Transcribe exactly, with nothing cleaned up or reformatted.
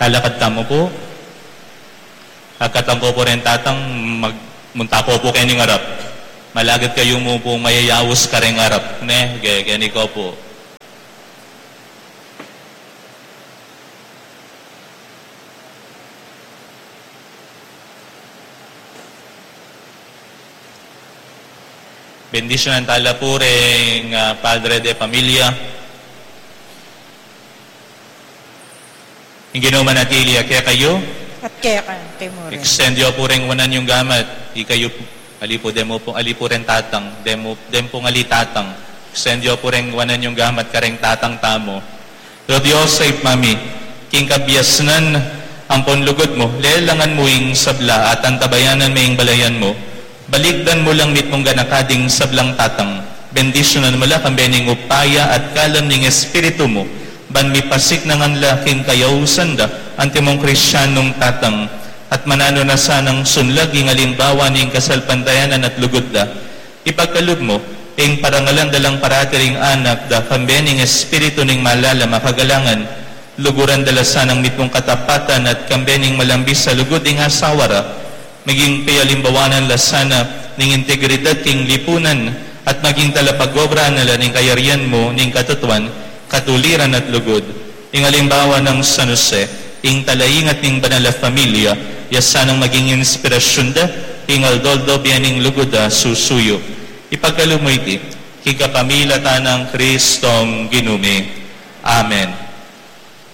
Lalakad tamu pu. Agkatan ku pu reng tatang, mag-, munta ku pu keni ngarap. Malagad kayu mu pu mayayaus kareng arap, ne? Ge-, keni ku pu. Bendisyunan tala pu reng, ah, padre de pamilya. Ing Ginu manatili ya kekayu. At keka mu rin. Extend yu pu reng wanan yung gamat. Ikayu pu, ali pu deng pu, ali pu reng tatang, deng pu, deng pung ali tatang. Extend yu pu reng wanan yung gamat kareng tatang tamu. O Dios, Ibpa mi, king kabiasnan ampon lugud mu, lelangan mu ing sabla at antabayanan me ing balayan mu. Balikdan mu lang mitmung ganaka ding sablang tatang. Bendisyunan mu la kambe ning upaya at kalam ning Espiritu mu, ban mipasiknangan la king kayausan da antimong Kristianong tatang, at mananu na sanang sunlag ing alimbawa ning kasalpantayanan at lugud da. Ipagkalub mu, ing parangalan da lang parati ring anak da kambe ning Espiritu ning malalam a kagalangan, luguran da la sanang mitmung katapatan at kambe ning malambis a lugud ing asawa ra, maging pialimbawanan la sana ning integridad king lipunan, at maging talapagobra na la ning kayarian mu ning katutuan, katuliran at lugud. Ing alimbawa nang San Jose, ing talaingat ning banal a familia, ya sanang maging inspirasyun da king aldo-aldo bie ning lugud a susuyu. Ipagkalub mu iti king kapamilatan nang Kristong Ginu mi. Amen.